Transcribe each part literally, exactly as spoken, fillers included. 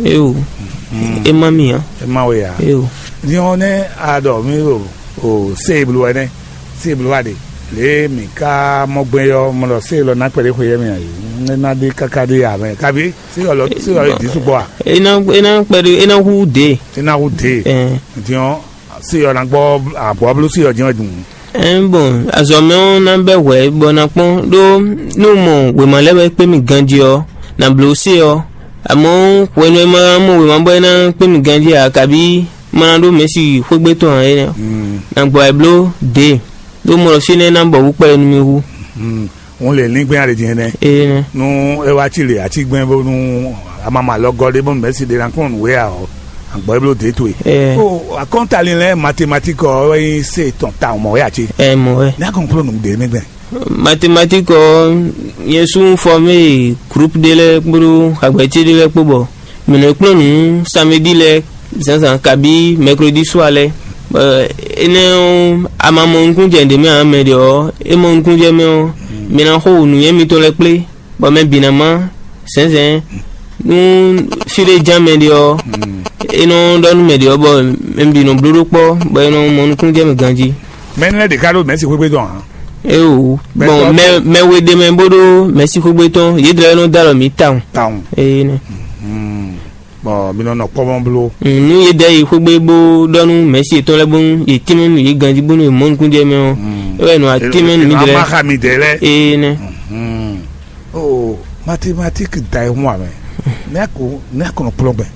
Eo, e ma mi ǎ. E ma we ǎ. Eo. Din ɔ́ nɛ́ a ɖɔ mì ɖo o se bló wɛ nɛ́, se bló wá ɖe. Lě e mǐ ka mɔ gbɛn ɔ́, mɔ ɖɔ se lɔ ná kpɛɖé xwe yɛ mì ǎ. É ná ɖe káká ɖe ǎ mɛ. Kabi se ɔ́ lɔ se ɔ́ ɖi sukpɔ a? E ná e ná kpɛɖé e ná hu dě. E ná hu dě. Ɛn. Din ɔ́ se ɔ́ ná gbɔ abɔ̌ bló se ɔ́ din ɔ́ dun. Ɛn, bɔn azɔ̌ mɛ ɔ́ ná bɛ́ hwɛ̌ bɔ ná kpɔ́n ɖó nú mɔ wěma lɛ́ɛ wɛ kpé mì ganjí ɔ́, nǎ bló sé ɔ́. Amɔ̌ hwenu e ma mɔ wěma bɔ é ná kpé mì ganjí ǎ, kabí ma ná ɖó mɛ̌si xwégbé tɔn ǎ é nɛ́ ɔ́, nǎ gbɔ wɛ bló dě, ɖó mɔ ɖɔ fínɛ́ ná bɔ wǔ kpɛɖé nú mì hú. Ŋun lě língbɛ́n a ɖe din énɛ́. Énɛ́. Nú é wá ci lě atígbɛ́n bónú amama lɔ gɔ́ ɖé bónú mɛ̌si ɖé ná kplɔ́n nǔ wé ǎ ɔ́, àgbɔ̌ é bló dě towe. Ɛɛ. Ó, akɔ́ntalin lɛ́ɛ matematík ɔ́ wɛ nyí se tɔn tawun mɔ̌ wɛ ǎ cé? Ɛɛ, mɔ̌ wɛ. Ní a kɔn kplɔ́n nǔ ɖě mɛ gbɛn. Matematík ɔ́, nyɛ sú un fɔmé groupe ɖé lɛ́ɛ kpódó agbɛ̌ ce ɖé lɛ́ɛ kpó bɔ mǐ nɔ kplɔ́n nǔ samedi lɛ́ɛ zǎnzǎn kabí mɛklódi sua lɛ́ɛ. Bɔ énɛ́ ɔ́, a ma mɔ nukúnjɛ ɖě mɛ ǎ, mɛ ɖě ɔ́, é mɔ nukúnjɛ mɛ ɔ́, mi ná xo nǔnywɛ́ mitɔn lɛ́ɛ kplé, bɔ mɛ bǐ ná má zɛ̌nzɛ̌n. Nú fí ɖé ján mɛ ɖé ɔ́, é nɔ ɖɔ nú mɛ ɖě ɔ́, bɔ mɛ bǐ nɔ bló ɖó kpɔ́, bɔ é nɔ mɔ nukúnjɛ mɛ ganjí. Mɛ énɛ́ lɛ́ɛ ɖě ká ɖó mɛ̌si xwégbé tɔn ǎ. Éeǒ, gbɔn mɛ mɛ we ɖ'é mɛ bó ɖó mɛ̌si xwégbé tɔn, yědɛɛ nɔ dó alɔ mǐ tawun. Tawun. Énɛ́. Bɔn mi nɔ nɔ kpɔ́mɔ bló. Nú yědɛɛ yi xwégbé bó ɖɔ nú mɛ̌si yětɔn lɛ́ɛ bónú yě tínmɛ nú yě ganjí bónú yě mɔ nukúnjɛ mɛ ɔ́, é wɛ nɔ atínmɛ nú mǐdɛɛ lɛ́ɛ. Axa mi dɛɛ lɛ́ɛ. Énɛ́. Oo, mathématique da e hun amɛ. Nɛ ko nɛ ko nɔ kplɔ́n gbɛ.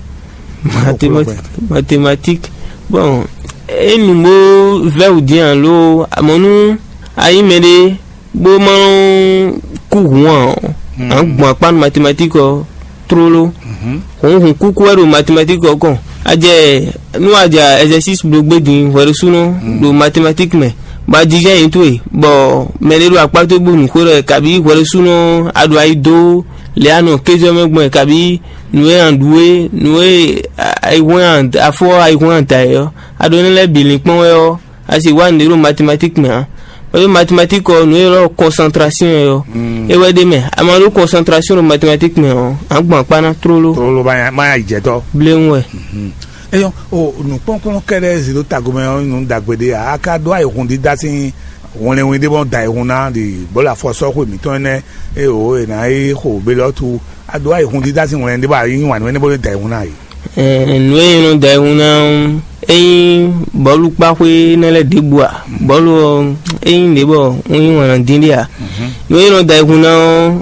Mathématique, mathématique. Bon, enu bó vɛ́ wǔ dín alo amɔ̌ nú a nyí mɛɖé bó má kú hǔn ǎ ɔ́, à ń gbɔn akpá nú mathématique ɔ́ tlóló. Hǔn hǔn kúkú wɛ ɖo mathématique ɔ́ kɔn. A jɛ nú a ja exercice bló gbé din hwɛɖésúnɔ ɖo mathématique mɛ, bɔ a jijɛ nyǐ towe, bɔ mɛɖé ɖo akpá towe bó nǔ xó ɖɔ kabí hwɛɖésúnɔ a ɖo ayi dó lě a nɔ kézɔ́ mɛ gbɔn kabí nǔ e a ɖu é, nǔ e ayihún afɔ ayihún ada é ɔ́, a ɖo énɛ́ lɛ́ɛ bǐ linkpɔ́n wɛ ɔ́, a sì wá nǔɖé ɖo mathématique mɛ ǎ. Ɖó mathématique ɔ́, nǔ e ylɔ́ concentration é ɔ́, é wɛ ɖ'é mɛ. A ma ɖó concentration ɖo mathématique mɛ ɔ́, a gbɔn akpá ná tlóló. Tlóló má má yi jɛ tɔ́. Bléwún wɛ. Eyɔ́, o nǔkplɔ́nkplɔ́n kɛ́ɖɛ́ zǐ ɖó tago mɛ ɔ́, nǔ ɖagbe ɖé ǎ. A ka ɖó ayihún dídá sín hwlɛnwin ɖé bɔ da ayihún ná ɖi bɔ̌lu afɔsɔ́xwe mǐtɔn énɛ́, e o è nǎ yi xo Belɔ́tu. A ɖó ayihún dídá sín hwlɛnwin ɖé bɔ a yí wǎn nú énɛ́ bó lɛ́ da ayihún ná yi. Ɛɛ, nǔ e nyí nɔ da ayihún ná ɔ́, é nyí bɔ̌lu kpáxwé énɛ́ lɛ́ɛ ɖěbǔ ǎ. Bɔ̌lu ɔ́, é nyí ɖě bɔ un yí wǎn ná dín ɖé ǎ. Nǔ e nyí nɔ da ayihún ná ɔ́,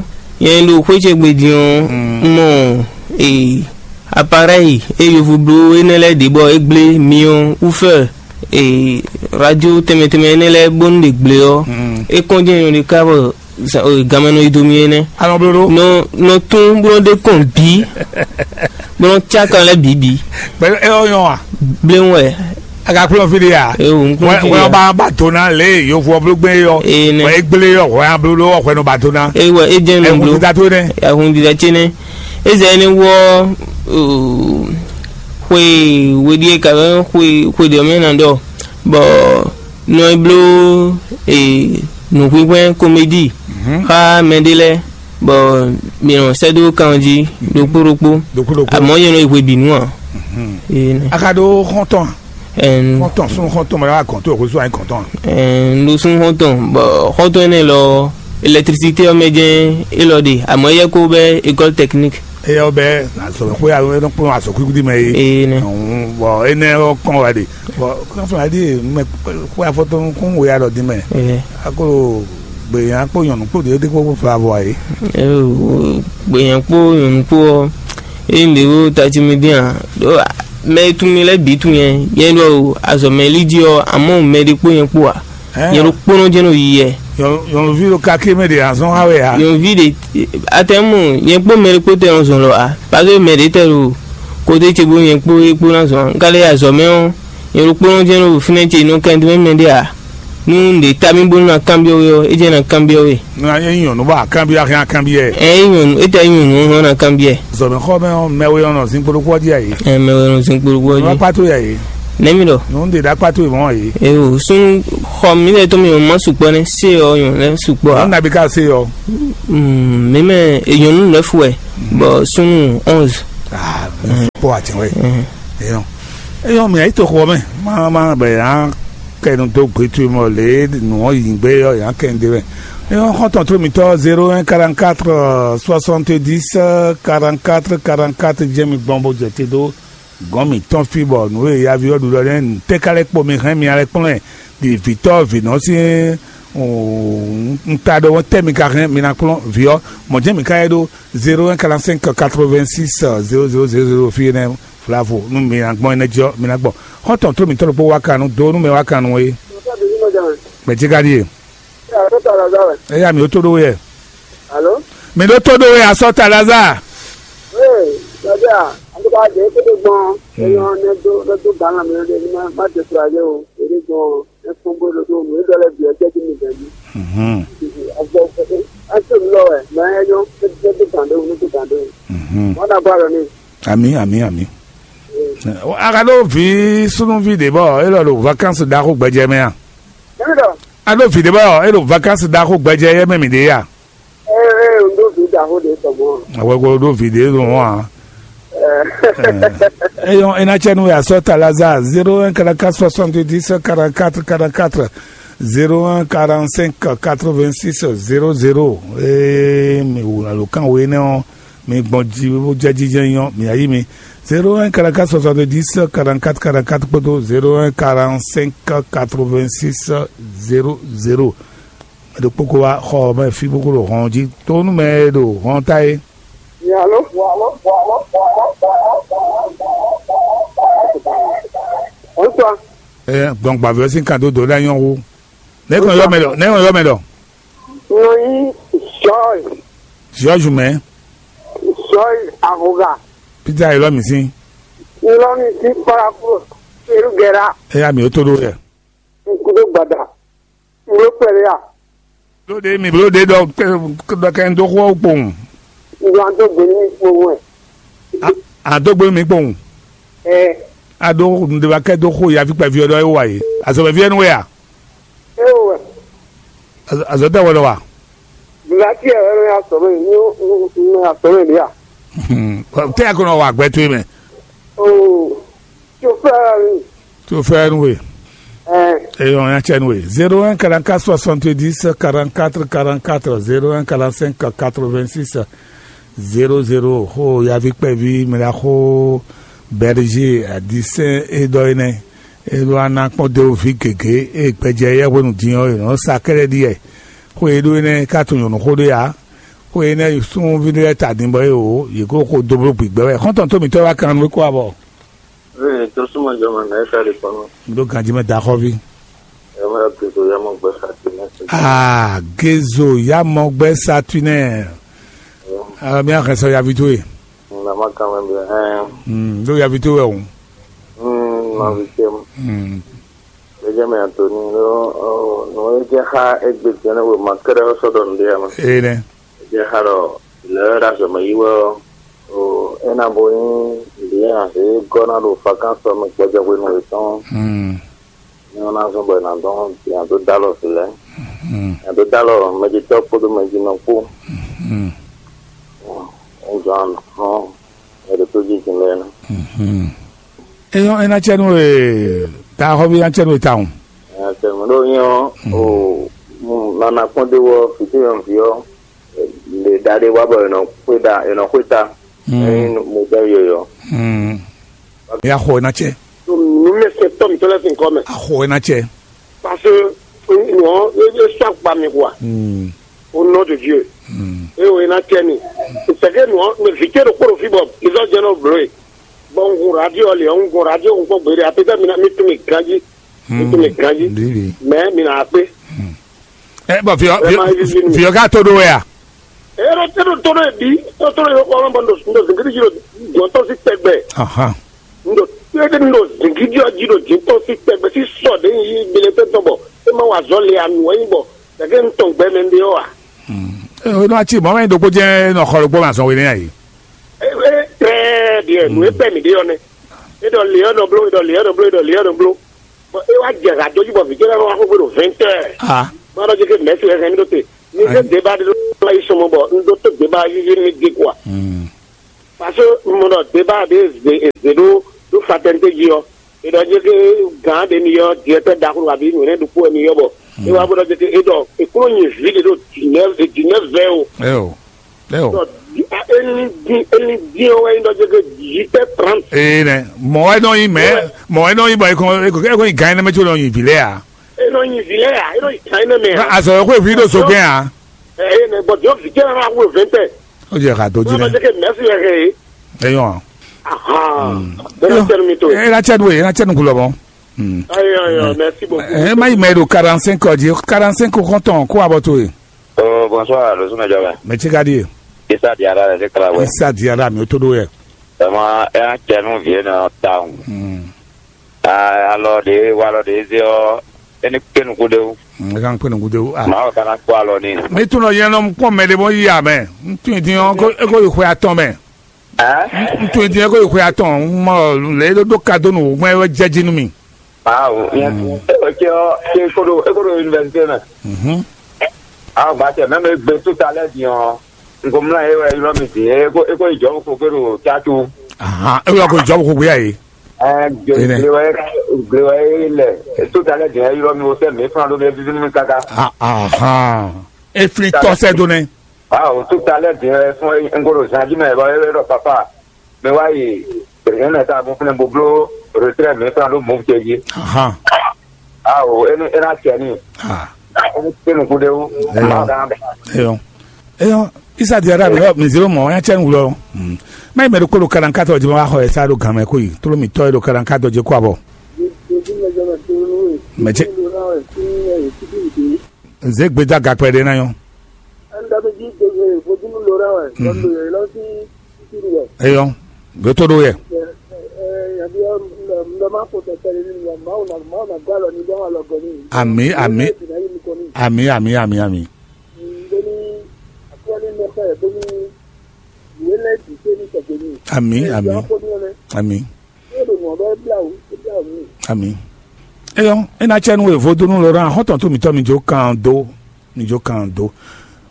nyɛ ɖo xwé ce gbe din ɔ́, un mɔ ee aparɛ́yi e yovo bló énɛ́ lɛ́ɛ ɖě bɔ é gblé myɔ wúfɛ ee radio tɛnmɛ tɛnmɛ énɛ́ lɛ́ɛ bónú ɖe gblé ɔ́, é kɔn jɛ́n nyɔ̌ɖi ká bɔ ganmɛ nɔ yi do mì énɛ́. Alɔ bló ɖó. Nɔ nɔ tún bó nɔ ɖe kɔn bǐ, bó nɔ cá kan lɛ́ɛ bǐ bǐ. Pẹ̀lú ẹ ɔ yɔn wa. Bléwún wɛ. A ka kplɔ́n fí ɖé ya. Ee, o, n kplɔ́n fí ɖé ya. Wɛ ba ba tó ná lé yovo ɔ bló gbé yɔ. Ee, nɛ. Wɛ e gblé yɔ wɛ a bló ɖó wɛ nɔ ba tó ná. Ee, wɛ e jɛn nɔ bló. Ɛ kun dídá tó nɛ. Ɛ kun dídá tse nɛ. E zɛ ne wɔ xwe weɖi e ka bɛ xwe xwe ɖe mɛ na ɖɔ bɔ nɔ e bló nǔxwíxwɛ́ komedi xá mɛɖé lɛ́ɛ, bɔ mǐ nɔ sɛ́ dó kan jí ɖokpó ɖokpó. Ɖokpó ɖokpó. Amɔ̌ nyɛ nɔ yi hwebǐnu ǎ. A ka ɖó xɔ́ntɔn a? Ɛn, xɔ́ntɔn súnnu xɔ́ntɔn mɛ wá gɔ̌n tó xwésú anyi gɔ̌n tɔn a? Ɛn, un ɖo súnnu xɔ́ntɔn, bɔ xɔ́ntɔn énɛ́ lɔ, électricité ɔ́ mɛ jɛ́n é lɔ ɖe, amɔ̌ éyɛ́ kó bɛ́ école technique. Éyɛ́ ɔ́ bɛ́ azɔ̌mɛxwé alo é nɔ kplɔ́n azɔ̌ kwíkwídí mɛ é. Ee, nɛ. Bɔ énɛ́ ɔ́ kɔn wɛ ɖe. Bɔ kɔ́nflán ɖíe mɛ xwe afɔtɔn kún we alɔ dín mɛ. Ee. Akolo gbeyǎn kpó nyɔ̌nu kpó ɖě kpó fla avɔ ǎ é. Gbeyǎn kpó nyɔ̌nu kpó ɔ́, ényí ɖě ɖo tají mì dín ǎ, ɖó mɛ e tunwun mì lɛ́ɛ bǐ tunwun nyɛ. Nyɛ ɖɔ azɔ̌ mɛ lí jí ɔ́, amɔ̌ mɛ ɖé kpó nyɛ kpó ǎ. Nyɛ ɖokpónɔ jɛ́n nɔ yi yɛ. Nyɔ̌nuví ɖo kaké mɛ ɖě azɔn xá wɛ ǎ. Nyɔ̌nuví ɖě atɛ́nmu nyɛ kpó mɛ ɖé kpó tɛ nɔ zɔn lɔ ǎ. Pase mɛ ɖě tɛ ɖo kódé ce bó nyɛ kpó é kpó ná zɔn ǎ. Un ka lɛ́ yi azɔ̌ mɛ ɔ́, nyɛ ɖokpónɔ jɛ́n ɖo fínɛ́ ce nɔ kɛn mɛ ɖé ǎ. Nú ɖě ta mì bónú ná kanbyɔ́ we ɔ́, é jɛ́n ná kanbyɔ́ we. Nú a nyí nyɔ̌nu bɔ a kanbyɔ́, a hɛn a kanbyɔ́ ɛ. Ɛ é nyɔ̌nu, é tɛ nyɔ̌nu ɔ́ hɔn ná kanbyɔ́ ɛ. Zɔ̌mɛxɔmɛ ɔ́, mɛ we ɔ́ nɔ zín kpódó kpɔ́ jí a yě. Ɛ mɛ we nɔ zín kpódó kpɔ́ jí. Nú akpá tó yɛ yě. Nɛ̌ mi ɖɔ? Nú ɖě ɖo akpá tó yě mɔ̌ a yě. Eo, súnnu xɔ mi lɛ́ɛ tɔn mi ma sukpɔ́ nɛ́, sé ɔ́ nyɔ̌nu lɛ́ɛ sukpɔ́ ǎ. Nú nabi ka sé ɔ́. Mm, mi mɛ nyɔ̌nu lɛ́ɛ fú wɛ, bɔ súnnu onze. Ah, kpɔ atsin wɛ. Eyɔn, eyɔn, mi ayi to xɔ mɛ. Ma ma bɛ yan kɛnu dó gbetu mɔ lě nǔ ɔ́ yi gbé ɔ́ yan kɛnu dé mɛ. Eyɔn, xɔntɔn tó mitɔ zéro un quarante quatre soixante dix quarante quatre quarante quatre jɛ mi gbɔn bó jɛ te dó gɔn mitɔn fi bɔ nǔ e yavi ɔ́ ɖu lɔ nɛ́ tɛ ka lɛ kpo mi hɛn mi alɛ kplɔ́n ɛ ɖi vǐtɔ́ vǐnɔ sín un ta ɖɔ tɛ mi ka hɛn mi ná kplɔ́n vǐ ɔ́ mɔ̌ jɛ mi ka yɛ ɖó zéro un quarante cinq quatre vingt six zéro zéro zéro zéro fi nɛ. Vlavo nú mi ná gbɔn énɛ́ jɔ mi ná gbɔn. Xɔ́ntɔn tó mǐtɔn ɖokpó wá kan nú dó nú mɛ wá kan nú é. Mɛ jí ka ɖíe. Eya mi ó tó ɖó wɛ. Alo? Mi ɖó tó ɖó wɛ asɔ ta Lazare. Ee, Lazare, an tó bá jẹ kó tó gbɔn. Eyɔn ne dó ne dó gǎn lamɛ ne ma ma découragé o. Ede gbɔn ne fún bó ɖo ɖó nǔ e ɖɔ lɛ bǐ ɔ́ jẹ́ kí mi bɛn mí. Mhm. Azɔ an tó mi lɔ wɛ, mɛ ɛ nyɔ ne dó gǎn ɖó ne dó gǎn ɖó. Mhm. Wọn na gbá lɔ ní. Ami, ami, ami. A ka ɖó vǐ súnúví ɖě bɔ é lɔ ɖo vakansi ɖaxó gbɛjɛ mɛ a? Émi ɖɔ. A ɖó vǐ ɖě bɔ é ɖo vakansi ɖaxó gbɛjɛ yɛ mɛ mǐ ɖě a? Ee, ee, un ɖó vǐ ɖaxó ɖě tɔ mɔ. Awɛ ko ɖó vǐ ɖě ɖo mɔ a? Eyɔn, é ná cɛ nú ya sɔ ta Lazare zéro un quarante quatre soixante dix quarante quatre quarante quatre zéro un quarante cinq quatre vingt six zéro zéro. Ee, mi wǔ alo kan wo énɛ́ ɔ́, mi gbɔn jí bó jɛ jijɛ nyɔ mi ayí mi zéro un quarante quatre soixante dix quarante quatre quarante quatre kpódó zéro un quarante cinq quatre vingt six zéro zéro. Mɛ ɖokpó ko wá xɔ mɛ fí bó ko ɖo hɔn jí tó nú mɛ e ɖo hɔn ta é. Alo. Bonsoir. Ɛ gbɔn gbavɛ sín kan dó dó ɖe anyɔ wu. Ne kàn yɔ mɛ ɖɔ, ne kàn yɔ mɛ ɖɔ. Nɔ yí George. George mɛ. George Ahoga. Peter Elɔmi sín. Elɔmi sín paraku. Erugɛra. Eya mi ó tó ɖó yɛ. Nkúdó gbada. Wló kpɛɖé a? Blóɖé mi blóɖé ɖɔ ɖɔ kɛ ń dó xó ɔ́ kpowun. Ŋgbla dó gbe nú mi kpowun ɛ. A dó gbe nú mi kpowun. Ɛ. A ɖó nǔɖéwákɛ dó xó yaví kpɛví ɔ́ ɖɔ é wa yě. Azɔ̌ wɛ ví ɛ́ nú we a? É o wɛ. Azɔ̌ tɛ wɛ lɔ wa? Blati ɛ wɛ nɔ ya sɔmɛ ní nɔ ya sɔmɛ ní a? Tɛ ya ko nɔ wa gbɛ towe mɛ. Oo. Chauffeur. Chauffeur nwe. Ɛ. Eyɔn ya cɛ nwe. Zéro un quarante quatre soixante dix quarante quatre quarante quatre zéro un quarante cinq quatre vingt six zéro zéro. Xo yavi kpɛvi mɛ la xo Berger adisɛn e dɔ enɛ. E do ana kpɔn de vi gege e gbɛjɛ yɛ hwenu din ɔ e nɔ sa kɛlɛ ɖi yɛ. Xo e ɖo enɛ ka to nyɔnu xo ɖe ya. Xo enɛ sunvi ɖe lɛ ta din bɔ e o yě ko xo do bló gbigbɛ wɛ. Xɔntɔn to mitɔ wa kan nu ko abɔ. Ee, tosúnmɔjɔmɔ nɛ̌ ká ɖi kɔnɔ? Ɖó ganjí mɛ da xɔví. Ɛ mɛ Gezo yamɔ gbɛ Satinɛ. Aa, Gezo yamɔ gbɛ Satinɛ. Aa, mi axɛ sɔ yavi towe. Na ma kan mɛ bi hɛn. Hmm, ɖó yavi towe o. Hmm, ma vi tɛ mu. Hmm. Lɛjɛ mɛ Antoni, no, no e jɛ xa egbe jɛ ne we ma kɛrɛ sɔ dɔ nde ya ma. Ee nɛ. Jɛ xa ɖɔ lɛ ɖo azɔ̌ mɛ yi wɛ ɔ́, o é ná bo nyí lǐn azě gɔ́ ná ɖo fakánsɔ mɛ gbɔjɛhwenu yětɔn. Hmm. Ní wọ́n ná zɔ́n bɔ è nǎ dɔn è nǎ dó dó alɔ vǐ lɛ́ɛ. Hmm. È nǎ dó dó alɔ mɛjitɔ́ kpódó mɛjinɔ kpó. Hmm. Ń zɔn anɔ ɛ ɖo tó jí din lɛ́ɛ ná. Hmm. Eyɔn é ná cɛ nú we ta xɔví ná cɛ nú we tawun. Ɛ tɛ mɔ ɖó nyɔ o nana kpɔ́n dé wɔ fìtí yɔn vǐ ɔ́. Le ɖaɖe wá bɔ è nɔ xwé ɖa, è nɔ xwé ta. Mm. Ényí mo dɔ yɔyɔ. Mm. Ya xɔ ná cɛ. Nǔmɛsɛntɔ́ mǐtɔn lɛ́ɛ sín kɔ́ mɛ. A xɔ ná cɛ. Parce que nǔ ɔ́ é sɔ́ akpa mi quoi. Mm. Au nom de Dieu. Mm. É o é ná cɛ mi. C'est que nǔ ɔ́ mɛ vǐ ce ɖokpó ɖo fí bɔ izɔ́ jɛ́n nɔ bló e. Bɔ un gun radio lě ɔ́, un gun radio un kpɔ́n gbeɖé apetɔ́ mi ná mi tún mi ganjí. Mi tún mi ganjí. Mɛ mi nà á kpé. Ɛ bɔn fiyɔ fiyɔ ka to ɖo wɛ a? Ero tɛ ɖo tɔnɔ yɛ bi, tɔnɔ yɛ kɔ ɔlɔn bɔ ndo ndo zingiri dzi ɖo jɔntɔ si tɛgbɛ. Ahan. Ndo tɛ ndo zingiri dzi ɖo jintɔ si tɛgbɛ si sɔ ɖe yi bele tɛ tɔn bɔ e ma wa zɔ le anu wɛ yi bɔ gake n tɔn gbɛ mɛ nde yɔ wa. Ee o nɔ ati mɔ mɛ ɖokpo jɛ nɔ xɔ ɖokpo ma zɔn wele ayi. E e très bien nu e pɛ mi de yɔ nɛ. E dɔ le yɔ nɔ blo, e dɔ le yɔ nɔ blo, e dɔ le yɔ nɔ blo. Bɔn e wá jɛ ha dó jí bɔ vǐ ce lɛ́ɛ wá xóxó ɖo vingt heures. Ah. Bɔn ɔ́ jẹ́ kí mɛ̌si wɛ hɛn mí ɖó te. Mi zé débat ɖé ɖó wá yi sɔmɔ bɔ un ɖó tó débat yíyí mi dé quoi. Hmm. Parce que un mɔ ɖɔ débat ɖé zě zě ɖó ɖó fraternité jí ɔ́, e ɖɔ jɛ ke gǎn ɖe mi ɔ́, directeur ɖaxó alo nǔ énɛ́ ɖokpó wɛ mi ɔ́ bɔ é wá bó ɖɔ jɛ ke é ɖɔ è kúnɔ nyi vǐ ɖé ɖo dix-neuf, dix-neuf vingt o. Eo, eo. Ɖɔ é ní dín é ní dín ɔ́ wɛ nyí ɖɔ jɛ ke dix-huit heures trente. Ee nɛ, mɔ̌ wɛ nɔ nyí mɛ̌, mɔ̌ wɛ nɔ nyí bɔ é kɔn é kɔn é kɔn nyi gǎn énɛ́ mɛ có nɔ nyi vǐ lɛ́ɛ ǎ. É nɔ nyi vǐ lɛ́ɛ ǎ, é nɔ nyi gǎn énɛ́ mɛ ǎ. Azɔ̌ e xwé vǐ ɖo so gɛ́n ǎ. Eye nɛ bɔ jɔ vijɛ na wu vente. Ó jẹ ká dó jí Wọn nɛ. Jẹ ke mɛsi yɛ he. Eyɔn. Ahan. Bɛrɛ tɛnu mi to. Ena cɛ nu ena cɛ nu kulɔ mɔ. Ayo ayo, merci beaucoup. Ɛ ma yi mɛ ɖo quarante cinq ɔdi, quarante cinq kɔntɔn kó abɔ to ye. Oh, bonsoir, le sumɛ jɔ mɛ. Mɛ tsi ka di ye. Isa di ara le kala wɛ. Isa di ara mi o to do yɛ. Ɛmɔ ɛna cɛ nu vie na ta ŋu. Alɔ ɖe walɔ ɖe zé ɔ́, é ní kpé nukún ɖé wú. N kan kpé nukún ɖé wú. Ah. Mawu kana kpó alɔ n'i. Mi tún nɔ yɛn nɔ kpɔn mɛ ɖé bɔ yi amɛ. N tún yi dín ɔ́, é kó yi xwe atɔn mɛ. Ɛ? N tún yi dín é kó yi xwe atɔn. N mɔ lě e ɖó ɖó ka dó nǔ gbɔn é wɛ jɛ jí nú mi. Mawu, nyɛ é wɛ cɛ ɔ́, cɛ é kó ɖo é kó ɖo yunivɛsite mɛ. Mhm. Awo gba tɛ mɛ mi gbe tó ta lɛ din ɔ́, n ko mlá yɛ wɛ ylɔ́ mi din é kó é kó yi jɔ̌ ko gbé ɖo cácu. Ahan, é wla ko jɔ̌ ko gbé yá yé. Ɛ Enɛ. Gle wɛ gle wɛ lɛ tó ta lɛ din ylɔ́ mi wo sɛ mi fúnra ɖó mi víví nú mi káká. Ah, ahan. Eflin tɔ sɛ do nɛ. Awo tó ta lɛ din fún n ko ɖo zan jí mɛ bɔ é wɛ ɖɔ papa mi wá yi. Yɛn ta bó fúnɛ bó bló retrɛ mi fúnra ɖó mɔ̌ ce jí. Ahan. Awo é ní é ná cɛ ní. Ah. É ní kpé nukún ɖé wú. Eyɔn. Má dán bɛ. Eyɔn. Eyɔn. Isa di ara mi mi zero mɔ ya cɛ wulɔ. Má yi mɛ ɖo kolo kalan katɔ jí ma wá xɔ ɛ sá ɖo gan mɛ kó yi. Tolo mi tɔ yi ɖo kalan katɔ jí kó abɔ. Mɛ ce. Nze gbeda gakpɛ ɖe na yɔ. Eyɔ. Gbɛtɔ ɖo yɛ. Ami, ami, ami, ami, ami. Ami, ami, ami. Ami. Eyɔ, ena cɛ nu evo do nu lɔ ɖo ahɔntɔn to mitɔ mi jo kan do, mi jo kan do.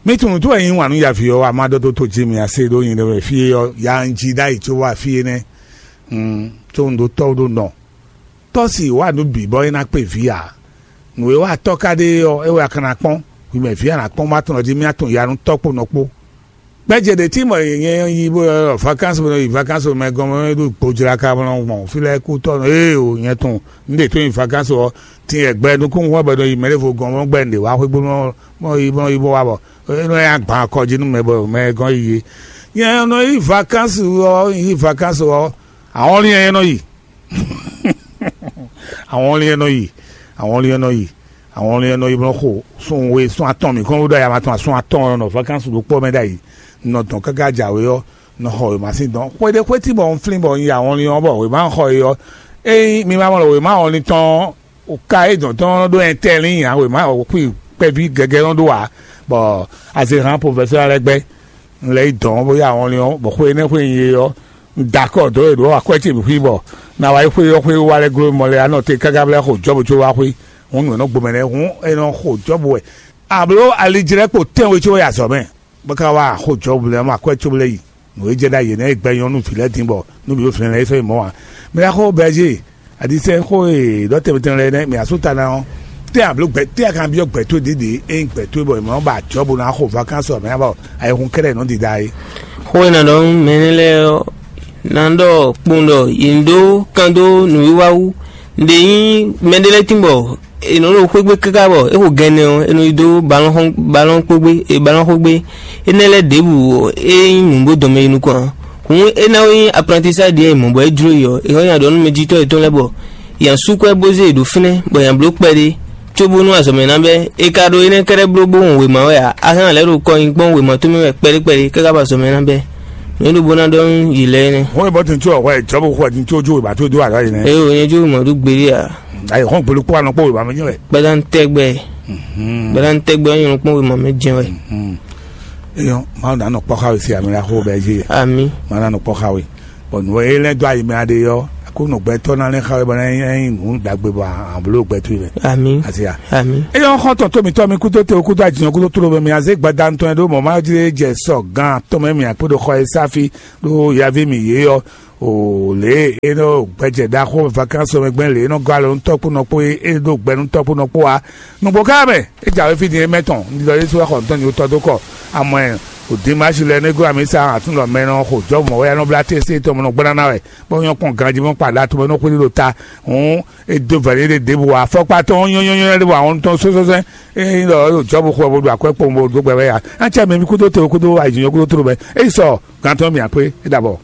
Mi tunu to eyin wanu ya fi ɔ ama dɔ to to ji mi ase ɖo yin ɖe fie ɔ ya nji ɖa yi tso wa fie nɛ. Hmm, to ndo tɔ ɖo nɔ. Tɔ si wa nu bi bɔ ena kpe vi a. Nu e wa tɔ ka ɖe ɔ e wa kana kpɔn. Wi mɛ vi a na kpɔn ma tɔn ji mi atun ya nu tɔ kpo nɔ kpo. Gbɛjɛ ɖe tí mɔ nyɛ yi bó yɔ vacances bó yi vacances mɛ gɔn mɛ ɖo gbojlaka mɔ gbɔn fi lɛ kú tɔ ee o nyɛ tun n ɖe tó yi vacances ɔ tin yɛ gbɛ nukún ŋu bɛ nɔ yi mɛ ɖe vo gɔn mɔ gbɛ n ɖe wá xwé gbó mɔ yi mɔ yi bó wá bɔ e nɔ ya gbɔn akɔ jí nú mɛ bɔ mɛ gɔn yi yé nyɛ nɔ yi vacances ɔ yi vacances ɔ àwọn ní ẹ nɔ yi àwọn ní ẹ nɔ yi àwọn ní ẹ nɔ yi àwọn ní ẹ nɔ yi bó nɔ xo sún we sún atɔn mi kɔn bó ɖɔ ya ma tɔn sún atɔn nɔ vacances ɖo kpɔ mɛ ɖa yi nɔ dɔn káká jǎwe ɔ́ nɔ xɔ wěma sín dɔn xwéɖé xwé tí bɔ un flín bɔ un yi ahɔnlin ɔ́ bɔ wěma xɔ e ɔ́, ényí mi ma mɔ ɖɔ wěma ahɔnlin tɔn ɔ́, ka é dɔn tɔn ɖó ɛntɛ́lin ǎ, wěma xwí kpɛví gɛgɛ nɔ ɖó ǎ, bɔ azehǎn profɛsɛ́ lɛ́ɛ gbɛ́ un lɛ́ yi dɔn bó yi ahɔnlin ɔ́, bɔ xwe énɛ́ xwe un yi é ɔ́, un da akɔ dó e ɖǒ akwɛ́ ce bǐ xwí bɔ na wá yi xwé ɔ́ xwé wá lɛ́ gló mɔ lɛ́ɛ ǎ nɔ te káká bó lɛ́ xo Jɔ́bu có wá xwé. Hǔn nǔ e nɔ gbomɛ lɛ́ɛ hǔn é nɔ xo Jɔ́bu wɛ. Abló alijlɛ́kpo tɛ́nwe có yi azɔ̌ mɛ. Bó ka wá xó Jɔ́bu lɛ́ɛ mɔ akwɛ́ cóbú lɛ́ɛ yi. Nǔ e jɛ ɖ'ayǐ ɔ́, nɛ́ gbɛ nyɔ́ nú vǐ lɛ́ɛ din bɔ nú mǐ ɖo vǐnlɛ́ lɛ́ɛ fɛ mɔ̌ ǎ. Mɛ ɖaxó Bɛɛzée, adisɛ xó e ɖɔ tɛnmɛ tɛnmɛ lɛ́ɛ nɛ́ mǐ asú ta ná ɔ́, tɛ́ a blǒ gbɛ tɛ́ a ka byɔ́ gbɛ towe ɖěɖě ényí gbɛ towe bɔ è mɔ bɔ a jɔ̌ bó ná xo vakánsɔ mɛ bɔ ayihun kɛ́ɖɛ́ nɔ ɖiɖa é. Xó e nǎ ɖɔ nú mɛ énɛ́ lɛ́ɛ ɔ́, ná ɖɔ kpowun ɖɔ yě ní ɖó kan dó nǔwiwa wú. Nǔɖé nyí mɛɖé lɛ́ɛ tín bɔ è nɔ ɖo xwé gbe káká bɔ é xo gɛnɛ ɔ́, è nɔ yi dó balɔ́n xɔ́n balɔ́n kpó gbe e balɔ́n xó gbe. Énɛ́ lɛ́ɛ ɖěbǔ ɔ́, é nyí nǔ bó dɔn mɛ yi nukɔn ǎ. Hǔn é ná wɛ nyí aplantisá ɖě e mɔ̌ bɔ é jló yi ɔ́, è hɔn nyi aɖɔ̌ nú mɛjitɔ́ yětɔn lɛ́ɛ bɔ yě ná sú kwɛ́ bó zé yě ɖó fínɛ́, bɔ yě ná bló kpɛɖé, cóbónú azɔ̌ mɛ ná bɛ́. È ka ɖo énɛ́ kɛ́ɖɛ́ bló bó wɔn wěma wɛ ǎ, a hɛn lɛ̌ ɖo kɔ nyi kpɔ́n wěma tɔn mɛ wɛ kpɛɖé kpɛɖé káká bɔ azɔ̌ mɛ ná bɛ́. Nǔ e ɖo bó ná ɖɔ nú yě lɛ́ɛ nɛ́. Hɔn e bɔ tin tso ɔhɔ e jɔbu xɔ tin tso jo ba to do ala yi nɛ. Eye wònye jó mɔ ɖó gbeɖé a? Ayi hɔn gbolo kpɔ anɔ kpɔ weba mi nyɛ wɛ. Gbɛdán tɛgbɛ. Gbɛdán tɛgbɛ ɔ́ nyɔnɔ kpɔn wema mɛ jɛ wɛ. Eyɔ, ma na nɔ kpɔ xawe si amina xo bɛ ji. Ami. Ma na nɔ kpɔ xawe. Bɔ nǔ e lɛ́ dó ayi mɛ aɖe ɔ́, Aklúnɔ gbɛtɔ́ ná lɛ́ xa wɛ bɔ é nyí nǔ ɖagbe bɔ a bló gbɛ towe mɛ. Ami. Asia. Ami. Eye ɔ́ xɔ́ntɔn tó mǐtɔn mi kúdó te kúdó ajinɔ kúdó tló mɛ mi azé gbada ntɔn ɖó mɔ̌ má jlé jɛ sɔ gan atɔn mɛ mi akpé ɖo xɔ e sáfi ɖó yaví mi yě ɔ́. O lě e nɔ gbɛjɛ ɖaxó vakansi mɛ gbɛn lě e nɔ gɔ́ alɔ nú tɔ́kpó nɔ kpó e ɖo gbɛ nú tɔ́kpó nɔ kpó a. Nǔgbó ká mɛ é jǎwe fí din é mɛ tɔn un ɖɔ yésu wɛ xɔ ntɔn nyi wotɔ dó kɔ amɔ ɛ. O dimashi lɛ négó ami sa atún lɔ mɛ nɔ xo jɔ́ mɔ̌ wɛ nɔ blá tɛ́sí tɔn mɔ nɔ gbɔ́ ná ná wɛ bɔ nyɔ́ kpɔn ganjí mɔ kpa ɖa tɔn mɛ nɔ xwé ɖo ta. Hǔn é dó vɛ̌ ɖé ɖěbǔ ǎ fɔkpa tɔn nyɔ́nyɔ́nyɔ́ ɖěbǔ ǎ wɔn tɔn sósósɛ́n. É nyí ɖɔ é ɖo jɔ́ bó xwɛ bó ɖo akwɛ́ kpowun bó dó gbɛ wɛ ya. Á cɛ mɛ mi kúdó te kúdó ayǐjínjɔ́n kúdó tló mɛ é yi sɔ gantɔ́ mi àkpé é ɖabɔ.